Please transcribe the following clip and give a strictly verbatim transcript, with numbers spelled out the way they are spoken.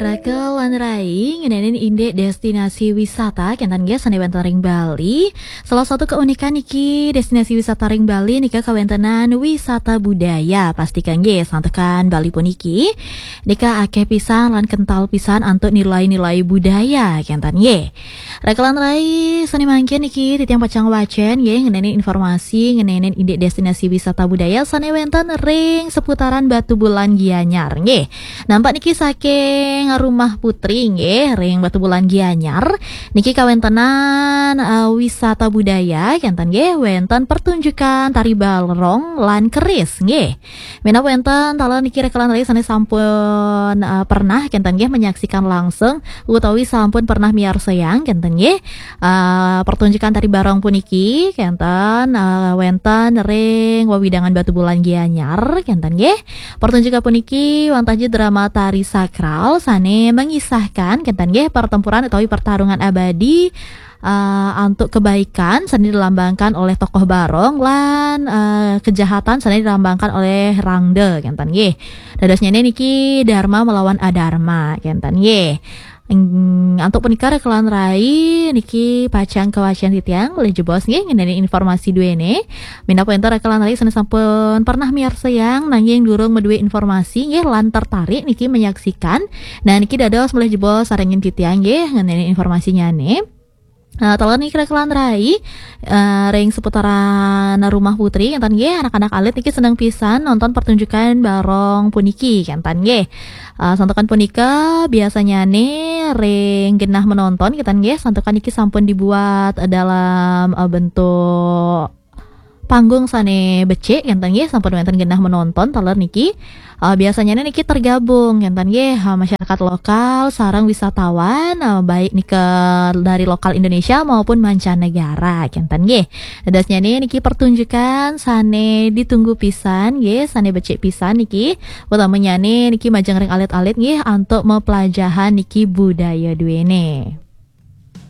Raka lan rai ngenenin indik destinasi wisata kenten nggih sane wenten ring Bali. Salah satu keunikan niki destinasi wisata ring Bali nika kawentenan wisata budaya. Pastika nggih santukan Bali puniki nika akeh pisan lan kental pisan antuk nilai-nilai budaya kenten nggih. Raka lan rai sane mangkin niki titiang pacang wacen nggih ngenenin informasi ngenenin indik destinasi wisata budaya sane wenten ring seputaran Batubulan Gianyar nggih. Nampak niki saking Rumah Putri nggih ring Batubulan Gianyar. Niki kawentenan eh, wisata budaya kenten nggih wenten pertunjukan tari barong lan keris nggih. Minab wenten taler niki raka lan rai sane sampun eh, pernah kenten nggih menyaksikan langsung utawi sampun pernah miarsayang kenten nggih. Eh, pertunjukan tari barong puniki kenten eh, wenten ring wewidangan Batubulan Gianyar kenten nggih. Pertunjukan puniki wantah ja drama tari sakral sane mengisahkan kenten nggih pertempuran utawi pertarungan abadi eh, antuk kebaikan sane dilambangkan oleh tokoh barong lan eh, kejahatan sane dilambangkan oleh rangda kenten nggih. Dadosnyane niki dharma melawan adharma kenten nggih. Ing- Antuk punika raka lan rai niki pacang kawacen titiang malih jebos nggih ngenenin informasi duene. Minab wenten raka lan rai sane sampun pernah miarsayang nanging durung madue informasi nggih lan tertarik niki menyaksikan. Nah niki dados malih jebos sarengin titiang nggih ngenenin informasinyane. Nah, taler niki raka lan rai eh, ring seputaran Rumah Putri kenten nggih anak-anak alit niki seneng pisan nonton pertunjukan barong puniki kenten nggih. Eh, santukan punika biasanyane ring genah menonton kenten nggih santukan niki sampun dibuat eh, dalam eh, bentuk panggung sane becik kenten nggih sampun wenten genah menonton taler niki. Eh, biasanya niki tergabung kenten nggih eh, masyarakat lokal sareng wisatawan eh, baik nika dari lokal Indonesia maupun mancanegara kenten nggih. Dadosnyane niki pertunjukan sane ditunggu pisan nggih sane becik pisan niki utamanyane niki majeng ring alit-alit nggih antuk mapelajahan niki budaya duene.